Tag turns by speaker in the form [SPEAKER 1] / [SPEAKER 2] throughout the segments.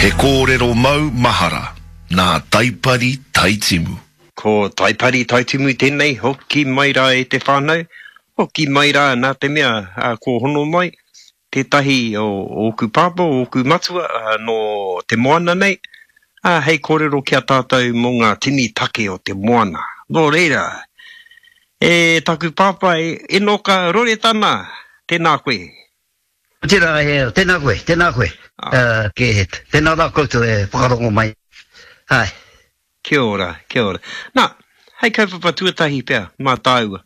[SPEAKER 1] He kōrero mau mahara nā Taipari Taitimu.
[SPEAKER 2] Ko Taipari Taitimu tēnei, hoki mai rā e te whānau, hoki mai rā nā te mea kua hono mai tētahi o ōku pāpā, o ōku matua nō te moana nei, ā, hei kōrero ki a tātou mō ngā tini take o te moana. Nō reira, e taku pāpā, e Enoka Roretana, tēnā koe.
[SPEAKER 3] Tērā, e, tēnā koe, tēnā koe, uh, tēnā rā koutou e whakarongo mai. Hai.
[SPEAKER 2] Kia ora, kia ora. Nā, hei kaupapa tuatahi pea mā tāua.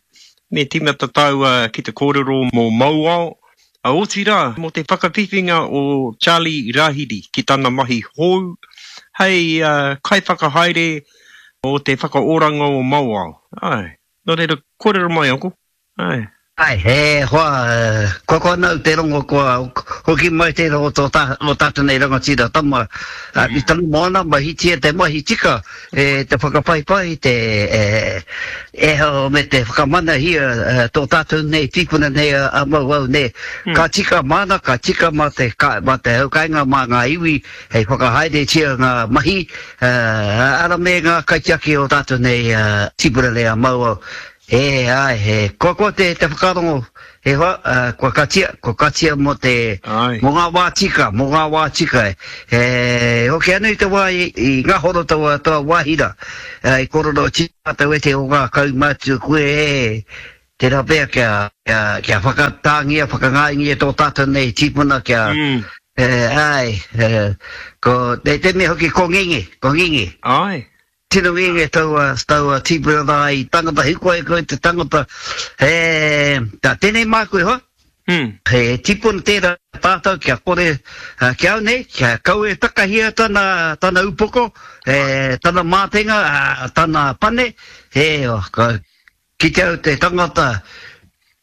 [SPEAKER 2] Me tīmata tāua ki te kōrero mō Mauao, ā, otirā, mō te whakawhiwhinga o Charlie Rahiri ki tana mahi hou hei kaiwhakahaere o te whakaoranga o Mauao. Āe, nō reira, kōrero mai, Uncle.
[SPEAKER 3] Āe. Āe, e hoa, kua koa nau te rongo kua hoki mai tērā o tō o tātou nei rangatira tama i tana moana, mahitia te mahi tika e te whakapaipai, te e me te whakamanahia tō tātou nei tīpuna nei a Mauao nei. Ka tika māna, ka tika mā te, mā te hau kāinga, mā ngā iwi hei whakahaeretia ngā mahi, ara me ngā kaitiaki o tātou nei tīpuna nei a Mauao. E, āe, he koakoa te, te whakarongo, he hoa, uh, kua katia, kua katia mō te,
[SPEAKER 2] Āe.
[SPEAKER 3] mō ngā wā tika, mō ngā wā tika. E, hoki anō i te wā i, i ngahoro taua, taua wāhi rā, uh, i kōrerotia mātou e te o ngā kaumātua koe, e, tērā pea kia, kia, kia whakatāngia, whakangāingia tō tātou nei tīpuna kia,
[SPEAKER 2] Mm.
[SPEAKER 3] e, āe, e, ko, te, te mea hoki ko ngenge, ko ngenge.
[SPEAKER 2] Āe.
[SPEAKER 3] Tino ngenge taua, taua tīpuna rā i tangata hikohiko i te tangata, he, tā, tēnei māku e hoa,
[SPEAKER 2] Mm.
[SPEAKER 3] he tīpuna tērā tātou kia kore, ki au nei, kia kaua e takahia tana, tana upoko, e, tana mātenga, tana pane, he, ka, Kite au te tangata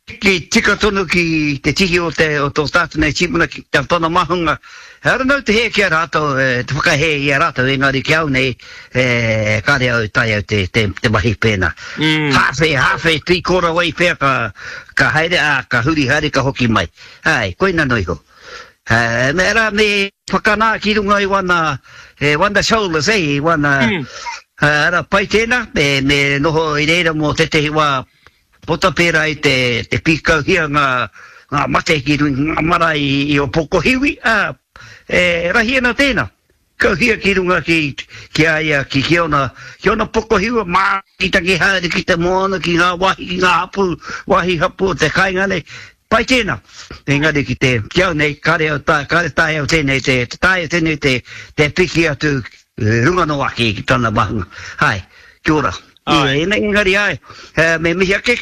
[SPEAKER 3] ki tika tonu ki te tihi o te o tō tātou nei tīpuna ki a tana mahunga. Ehara nau te hē ki a rātou, te whakahē i a rātou, engari ki au nei, e, kāre au e taea au te, te, te mahi pēnā.
[SPEAKER 2] Mm.
[SPEAKER 3] Hāwhe, hāwhe, tīkora wai pea ka, ka haere, ā, ka huri haere, ka hoki mai. Āe, koina noa iho. E, me rā, me whakanā ki runga i wana, e, wana shoulders, e, i wana,
[SPEAKER 2] mm.
[SPEAKER 3] ara, pai tēnā, me, me noho i reira mō tētehi wā pota pērā i te, te pīkauhia ngā, ngā mate ki runga ngā marae i, i Ōpokohiwi, ā, e rahi ana tēnā. Kauhia ki runga ki, ki a ia, ki, ki ōna, ki ōna pokohiwa, mātakitaki haere ki te moana, ki ngā wāhi, ki ngā hapū, wāhi hapū o te kāinga nei. Pai tēnā. Engari ki te, ki au nei, kāre au tae, kāre taea au tēnei te, te taea tēnei te, te piki atu runga noa ake ki tana mahunga. Āe, kia ora.
[SPEAKER 2] Āe.
[SPEAKER 3] Engari āe, me mihi ake,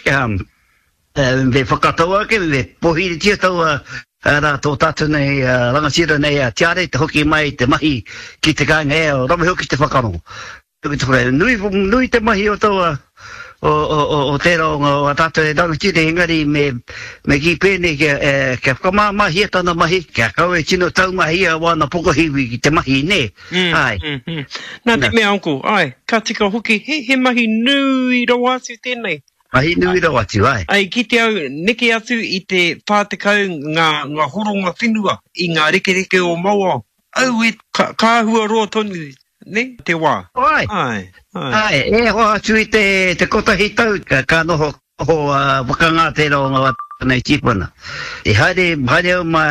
[SPEAKER 3] Me whakatau ake, me pōhiritia taua rā tō tātou nei rangatira nei a Tiare te hoki mai te mahi ki te kāinga e rawe hoki te whakarongo. Nui, nui te mahi o taua, o, o, o, o tērā o ngā, o a tātou e rangatira engari me, me kī pēnei kia, e, kia whakamāmāhia tana mahi, kia kaua e tino taumahia wāna pokohiwi ki te mahi, nē?
[SPEAKER 2] Mm,
[SPEAKER 3] Āe.
[SPEAKER 2] mm, mm. Nā te mea, Uncle, āe, ka tika hoki, he, he mahi nui rawa atu tēnei.
[SPEAKER 3] Mahi nui rawa atu, ae.
[SPEAKER 2] I kite au, neke atu i te 40 ngā, ngā horonga whenua i ngā rekereke o Mauao. Aue, ka, ka āhua roa tonu, ne, te wā.
[SPEAKER 3] Ae.
[SPEAKER 2] Ae, ae.
[SPEAKER 3] Ae, e hoa atu i te, te kotahi tau, ka, ka noho, noho uh, whakangā tērā o ngā nei tīpuna. I haere, haere au mā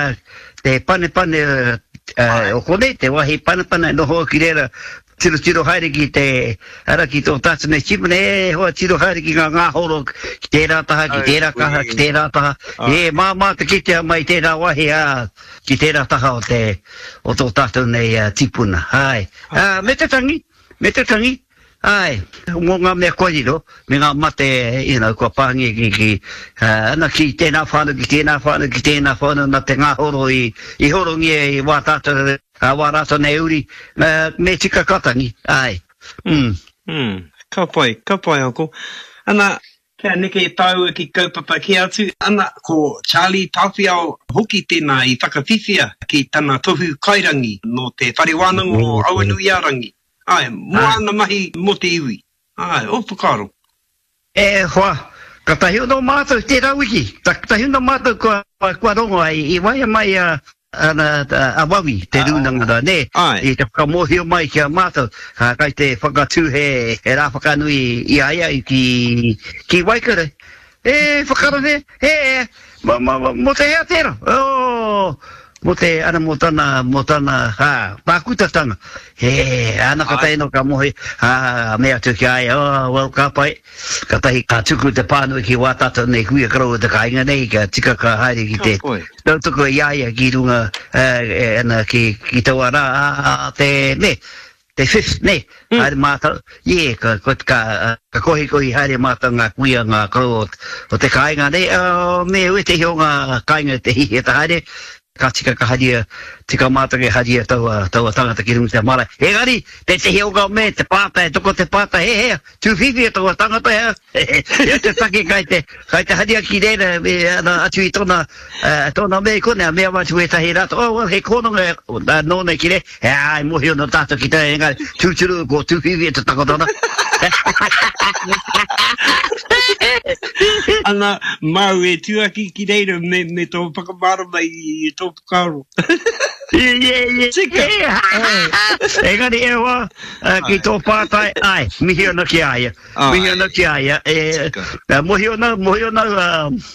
[SPEAKER 3] te panepane uh, o konei, te wāhi panepane, noho au ki reira, Tirotiro haere ki te, ara ki tō tātou nei tīpuna, e hoa tiro haere ki ngā ngāhoro, ki tērā taha, ki tērā kaha, ki tērā taha, e māmā te kitea mai tērā wāhi, ā, ki tērā taha o te, o tō tātou nei tīpuna, āe. Ā, me te tangi, me te tangi, āe, mō ngā mea kua riro, me ngā mate, you know, kua pāngia ki, ki, ana, ki tēnā whānau, ki tēnā whānau, ki tēnā whānau, nā te ngāhoro i, i horongia i wā tātou, Ā wā rātou nei uri, me tika ka tangi, āe.
[SPEAKER 2] Mm. Mm. Ka pai, ka pai Uncle. Ana, kia neke tāua ki kaupapa kē atu, ana, ko Charlie Tāwhiao hoki tēnā i whakawhiwhia ki tana tohu kairangi nō te Whare Wānanga o Awanuiārangi. Āe, mō āna mahi mō te iwi. Āe, ō whakaaro.
[SPEAKER 3] E hoa, katahi ono mātou tērā wiki, katahi ono mātou kua, kua rongo ai, i waea mai a. Ana a Wawi, te rūnanga rā, nē, i te whakamōhio mai ki a mātou, kai te whakatū he rā whakanui i a ia ki, ki Waikare. E whakarere, e, mō te hea tērā? Oh, mō te, ana mō tana, mō tana, ha, pākutatanga. He, ana ka tae no ka mohi, ha, mea atu ki a ia, oh, well, ka pai. Katahi ka tuku te pānui ki wā tātou nei kuia koroua te kāinga nei, kia tika ka haere ki te tautoko i a ia ki runga, ana, ki, ki taua rā, a, te, ne, te fifth, ne, haere mātou, yeah, ka, ka, ka, ka kohikohi haere mātou ngā kuia, ngā koroua o te kāinga nei, me wētehi o ngā kāinga te hihia te haere, Ka tika ka haria, tika mātou ke haria taua, taua tangata ki runga i te marae. Engari, tētehi o ngā me, te pātai, toko te pātai, he hea, tūwhiwhia taua tangata hea, he te take kai te, kai te haria ki reira, me, ana, atu i tōna, uh, tōna me i konei, mea atu ētahi rātou, oh, well, he kōnonga uh, nōna ki reira, he ai, mōhio nō tātou ki te, engari, tūturu, ko tūwhiwhia te takoto ana.
[SPEAKER 2] Ana, māu e tuaki ki reira me, me tō whakamārama i, i tō whakaaro.
[SPEAKER 3] Ie, ie, ie.
[SPEAKER 2] Tika.
[SPEAKER 3] Engari e hoa, ki tō pātai, ai, mihi ana ki a ia. Mihi ana ki a ia. E, mohi ana, mohi ana, uh,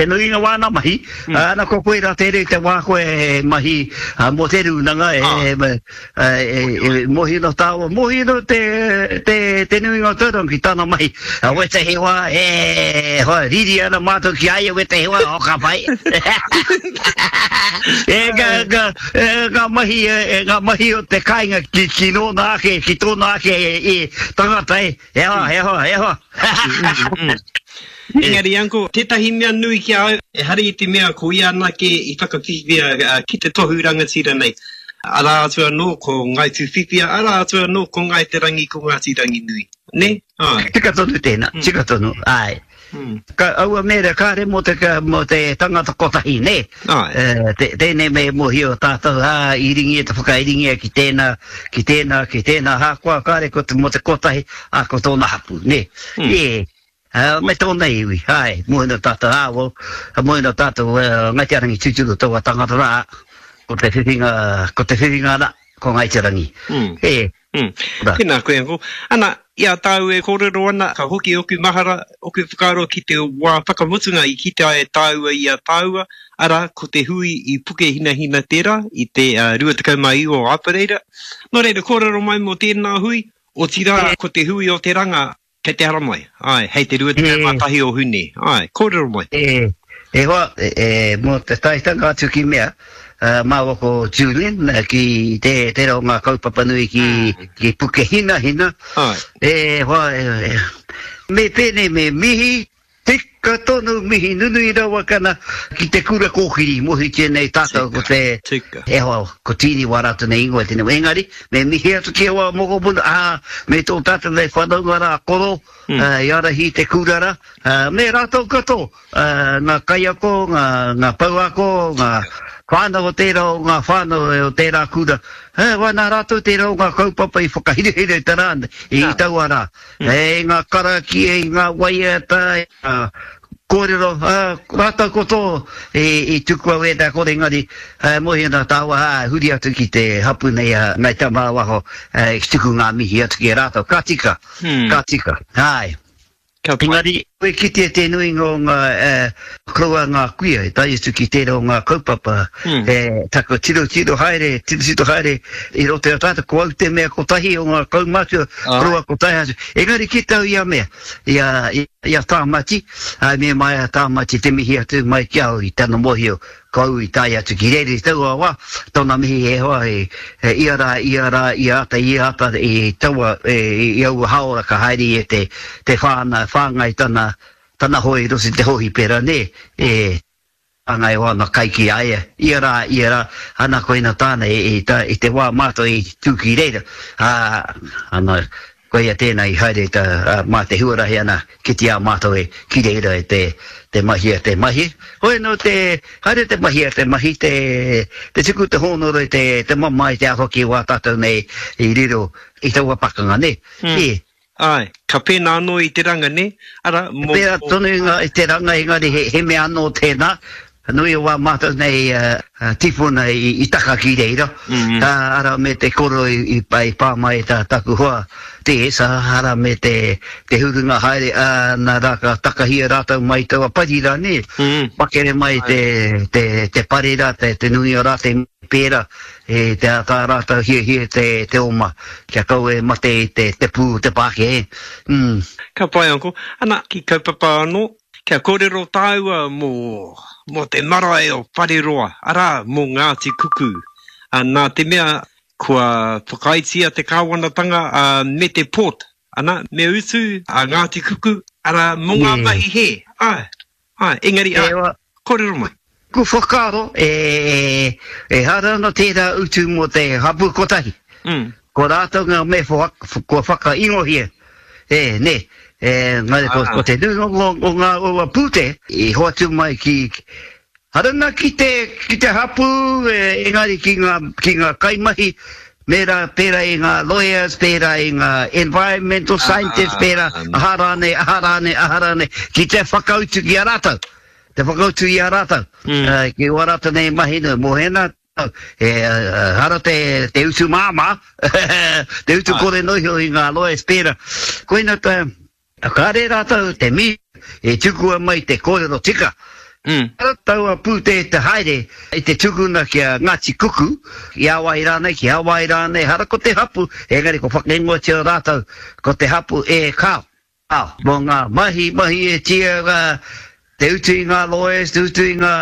[SPEAKER 3] Te nuinga wāna mahi, ana ko koe rā tērei te wā koe e mahi mō te rūnanga e mōhio ana tāua, mōhio ana te nuinga o Tauranga ki tāna mahi. Wētehi wā e hoa riri ana mātou ki a ia wētehi wā, oh ka pai. E ngā mahi, ngā mahi o te kāinga ki nōna ake, ki tōna ake tangata e, e hoa, e hoa, e hoa.
[SPEAKER 2] Engari, Uncle, tētahi mea nui ki a au, ehara i te mea ko ia anake i whakawhiwhia ki te tohu rangatira nei. Arā atu anō ko Ngāi Tūwhiwhia, arā atu anō ko Ngāi Te Rangi, ko Ngāti Ranginui. Nē?
[SPEAKER 3] Āe. Tika tonu tēnā, tika tonu, āe. Ka, aua mea kāre mō te, mō te tangata kotahi, nē? Āe. Tēnei me mōhio tātou, ā, i ringia te whakairingia ki tēnā, ki tēnā, ki tēnā, hākoa kāre ko te, mō te kotahi, ā, ko tōna hapū, nē? Ē. Ā, me tōna iwi, āe, moe nō tātou, ā, well, moe nō tātou, Ngāi Te Rangi tūturu taua tangata rā, ko te whiwhinga, ko te whiwhinga rā, ko Ngāi Te Rangi.
[SPEAKER 2] Mm. E. Mm. Rā. Tēnā koe, Uncle. Ana, i a tāu e kōrero ana, ka hoki oku mahara, oku whakaaro ki te wā whakamutunga i kite ai e tāua i a tāua, arā, ko te hui i Pukehinahina tērā, i te uh, 29 o Apereira. Nō reira, kōrero mai mō tēnā hui, otirā, ko te hui o te ranga, Kei te haramai, āe, hei te 21 o Hune, āe, kōrero mai.
[SPEAKER 3] E, e hoa, e, mō te taetanga atu ki mea, māua ko Julian, ki te, tērā o ngā kaupapa nui ki, ki Pukehinahina,
[SPEAKER 2] Āe.
[SPEAKER 3] e hoa, e, me pēnei me mihi, Tika tonu mihi nunui rawa kana ki te kura kōkiri mohitia nei tātou ko te
[SPEAKER 2] Tika.
[SPEAKER 3] E hoa ko Tīni wā rātou nei ingoa tēnei wā engari me mihi atu ki aua mokopuna ā me tō tātou nei whanaunga rā koro i ārahi i te kura rā me rātou katoa ngā kaiako ngā ngā pouako ngā whānau o tērā o ngā whānau o tērā kura ā wā nā rātou tērā o ngā kaupapa i whakahirahira i te rā nei i taua rā. I ngā karakia, i ngā waiata, i ngā kōrero, ā, rātou ko tō i tuku au ēnā kore engari, ā, mohi ana tāua, ā, huri atu ki te hapu nei a Ngāi Tamāwaho, ā, ki tuku ngā mihi atu ki a rātou. Ka tika, ka tika, āe.
[SPEAKER 2] Ka pai.
[SPEAKER 3] Engari, e kitea te nuinga o ngā, ā, koroua ngā kuia i tae atu ki tērā o ngā kaupapa, e taku tirotiro haere, tirotiro haere i roto i a tātou, ko au te mea kotahi o ngā kaumātua, koroua kotahi atu. Engari ki tau ia mea, i a, i a Tāmati, ā, me mai a Tāmati te mihi atu mai ki au i tana mōhio, ko au i tae atu ki reira i taua wā, tōna mihi e hoa, e, ia rā, ia rā, ia ata, ia ata, i taua, i aua hāora ka haere ia te, te whāna, whāngai tana, Tana hoe i roto i te hōhipera, nē, e hāngai o ana kai ki a ia, ia rā, ia rā, ana koina tāna i, i, i te wā mātou i tū ki reira, ā, ana, koia tēnā i haere ta, ā, mā te huarahi ana kite a mātou e ki reira e te, te mahi a te mahi. Hoi anō te, haere te mahi a te mahi, te, te tuku te hōnore, te, te mamae, te aho ki wā tātou nei i riro i taua pakanga, nē, ē.
[SPEAKER 2] Āe, ka pēnā anō i te ranga, nē? Arā, mō.
[SPEAKER 3] Pērā tonu i ngā, i te ranga, engari he, he mea anō tēnā. Nui o wā mātou nei tīpuna i taka ki reira, arā me te koro i pā mai tā taku hoa TS, arā me te hurunga haere, ā, nā rā ka takahia rātou mai taua pari rā, nē, makere mai te pare rā, te nui o rātou i pērā, e te tā rātou hiahia te oma, kia kaua e mate i te pū o te Pākehā, ē.
[SPEAKER 2] Ka pai, Uncle. Ana, ki kaupapa anō, Kia kōrero tāua mō, mō te marae o Whareroa, arā, mō Ngāti Kuku. Ā, nā te mea kua whakaaetia te kāwanatanga, ā, me te port, ana, me utu a Ngāti Kuku, arā, mō ngā mahi hē. Āe, āe, engari, āe, kōrero mai.
[SPEAKER 3] Ku whakaaro, e, ehara ana tērā utu mō te hapū kotahi. Ko rātou ngā mea kua whakaingohia, e, nē, e, engari ko, ko te nuinga o, o ngā o pūtea i hoatu mai ki, hara ana ki te, ki te hapū, e, engari ki ngā, ki ngā kaimahi, mērā, pērā i ngā lawyers, pērā i ngā environmental scientists, pērā, aha rānei, aha rānei, aha rānei, ki te whakautu ki a rātou. Te whakautu i a rātou, ki wā rātou nei mahi nui, mō hēnā tau, e hara te, te utu māmā, te utu kore noa iho i ngā lawyers pērā. Koina tā, kāre rātou te mī e tukua mai te kōrero tika. Hara taua pūtea te haere i te tukuna ki a Ngāti Kuku, ki a wai rānei, ki a wai rānei, hara ko te hapu, engari ko whakaingoatia rātou ko te hapu e kāo. Ā, mō ngā mahi, mahi e tia ngā, te utu i ngā lawyers, te utu i ngā,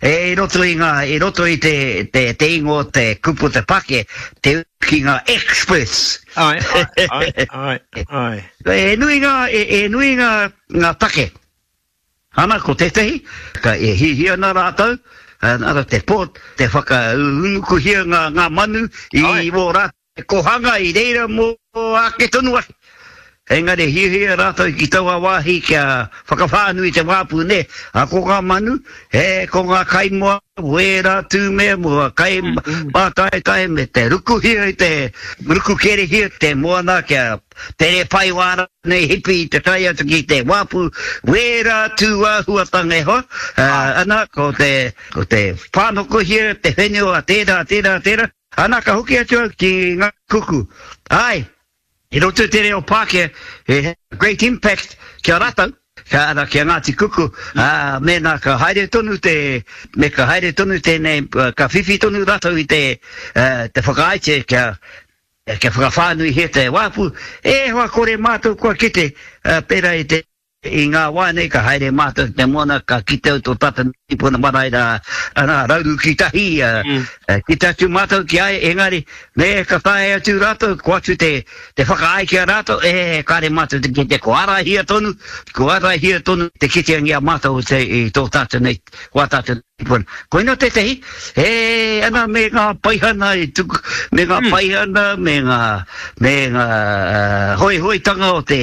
[SPEAKER 3] e, i roto i ngā, i roto i te, te, te ingoa, te kupu, te pake, te utu ki ngā experts.
[SPEAKER 2] Āe, āe, āe, āe, āe.
[SPEAKER 3] E nui ngā, e, e nui ngā, ngā take. Ana, ko tētehi, ka e hiahia ana rātou, ana te port, te whakaunukuhia ngā, ngā manu i wō rātou. He kohanga i reira mō ake tonu ake. Engari hiahia rātou ki taua wāhi kia whakawhānui te wāpu nē. A ko ngā manu, he ko ngā kaimoa, wērā tūmea mō ngā kai mātaetae me te rukuhia i te ruku kerehia te moana kia tere pai wā rānei hipi i te tae atu ki te wāpu, wērā tūāhuatanga e hoa. Ana ko te ko te whānokohia te whenua tērā tērā tērā. Ana ka hoki atu au ki nga kuku. Ae, i roto i te reo Pākehā, he have a great impact ki a ratou, ka ara ki a Ngāti Kuku, ā, mēnā ka haere tonu te, me ka haere tonu tēnei, ka whiwhi tonu ratou i te, te whakaaetia kia, kia whakawhānuihia te wāpu, e hoa kore mātou kua kite, pērā i te. I ngā wā nei ka haere mātou ki te moana ka kite au tō tātou tīpuna marae rā, arā, Rauru ki tahi, kite atu mātou ki a ia, engari me ka tae atu rātou, ko atu te te whakaae ki a rātou, e, kāre mātou te kite, ko ārahia tonu, ko ārahia tonu te kiteangia mātou te, i tō tātou nei, wā tātou tīpuna. Koina tētehi, e, ana me ngā paihana i tuku, me ngā paihana, me ngā, me ngā hoihoitanga o te,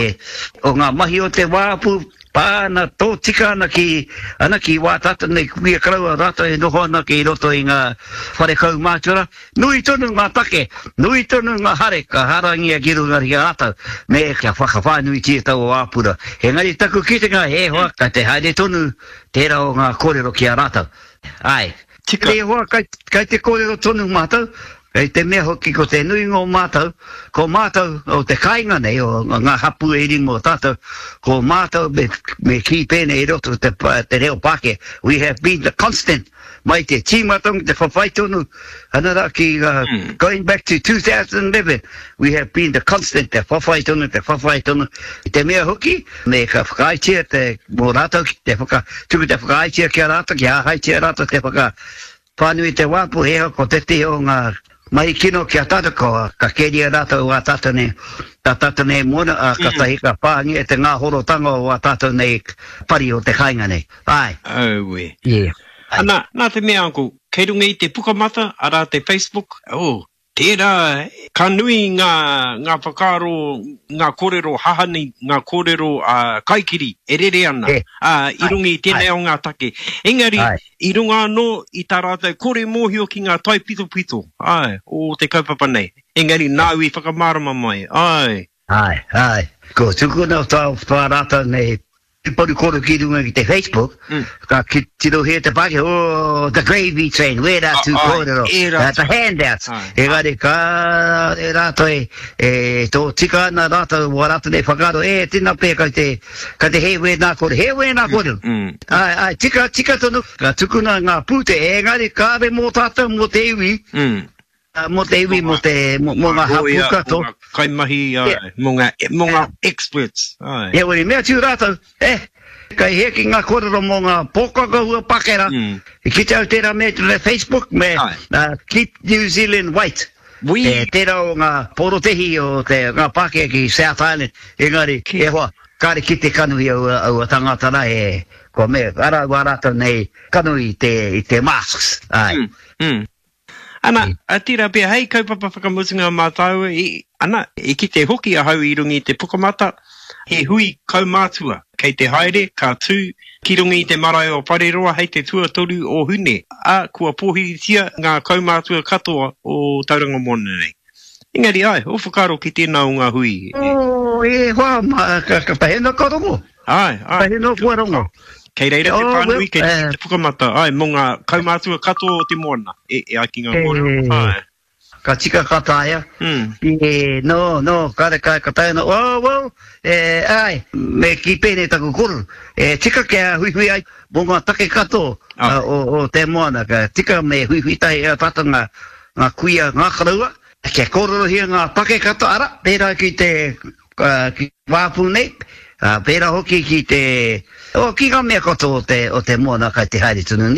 [SPEAKER 3] o ngā mahi o te wāpu, pā ana, tōtika ana ki, ana ki wā tātou nei kuia koroua rātou e noho ana ki roto i ngā whare kaumātua rā, nui tonu ngā take, nui tonu ngā hare ka harangia ki runga ki a rātou, me kia whakawhānuitia taua wāpura. Engari taku kitenga he hoa kei te haere tonu tērā o ngā kōrero ki a rātou. Āe.
[SPEAKER 2] Tika.
[SPEAKER 3] E hoa, kai, kai te kōrero tonu mātou, kei te mea hoki ko te nuinga o mātou, ko mātou o te kāinga nei, o ngā hapū e rima o tātou, ko mātou me, me kī pēnei i roto te, te reo Pākehā, we have been the constant, mai te tīmatanga, te whawhai tonu, ana rā ki ngā, going back to 2011, we have been the constant, te whawhai tonu, te whawhai tonu, i te mea hoki, me ka whakaaetia te, mō rātou ki te whaka, tuku te whakaaetia ki a rātou, kia āheitia rātou te whakawhānui i te wāpu, he aha ko tētehi o ngā mahi kino ki a tātou, ko, ka keria rātou ā tātou nei, tā tātou nei moana, ā, kātahi ka pāngia te ngāhorotanga o ā tātou nei pari o te kāinga nei. Āe.
[SPEAKER 2] Aue.
[SPEAKER 3] Yeah.
[SPEAKER 2] Āe. Ana, nā te mea, Uncle, kei runga i te Pukamata, arā te Facebook, oh, Tērā, ka nui ngā, ngā whakaaro, ngā kōrero hahani, ngā kōrero kaikiri e rere ana, ā, i runga i tēnei o ngā take. Engari, i runga anō i tā rātou kore mōhio ki ngā taipitopito, āe, o te kaupapa nei. Engari, nāu i whakamārama mai, āe.
[SPEAKER 3] Āe, āe. Ko tukuna tā, tā rātou nei. Paru koro ki runga ki te Facebook, mm. ka ki tirohia te Pākehā, oh, the gravy train, wērā tū kōrero, uh, the handouts. Engari ka e rātou e, e tō tika ana rātou wā rātou nei whakaaro, e tēnā pē kai te, kai te hē wēnā kōrero, hē wēnā mm, kōrero. Mm. Ai, ai, tika, tika tonu, ka tukuna ngā pūte, engari kāre mō tātou, mō te iwi, mm. Mō te iwi, mō te, mō ngā hapū katoa.
[SPEAKER 2] Mō ngā kaimahi, āe, mō ngā, mō ngā experts,
[SPEAKER 3] āe. Heoi, mea atu rātou, eh, kei hē ki ngā kōrero mō ngā pōkaka hua Pākehā, i kite au tērā mea i te Facebook me Keep New Zealand White.
[SPEAKER 2] Wī.
[SPEAKER 3] Tērā o ngā porotehi o te, ngā Pākehā ki South Island, engari, e hoa, kāre kite kanohi aua, aua tangata rā, e, kua mea, arā wā rātou nei kanohi i te, i te masks, āe.
[SPEAKER 2] Mm, mm. Ana, a tērā pea hei kaupapa whakamutunga mā tāua, i, ana, i kite hoki ahau i runga i te pukamata, he hui kaumātua kei te haere, ka tū ki runga i te marae o Whareroa hei te tuatoru o Hune, ā, kua pōhiritia ngā kaumātua katoa o Tauranga Moana nei. Engari, āe, ō whakaaro ki tēnā o ngā hui
[SPEAKER 3] e. Oh, e hoa, ma, ka, ka pahena ka rongo.
[SPEAKER 2] Āe, āe.
[SPEAKER 3] Pahena kua rongo.
[SPEAKER 2] Kei reira te pānui, kei reira te pukamata, āe, mō ngā kaumātua katoa o te moana, e, e ai ki ngā kōrero, āe.
[SPEAKER 3] Ka tika ka taea. Mm. E, no, no, kare ka, ka taea no, oh, well, e, āe, me kī pēnei taku kōrero, e tika kia huihui ai mō ngā take katoa o, o te moana, ka tika me huihui tahi a tātou ngā, ngā kuia, ngā koroua, kia kōrerohia ngā take katoa, arā, pērā ki te, ki te wāpu nei, pērā hoki ki te, oh, ki ngā mea katoa o te, o te moana kai te haere tonu nei.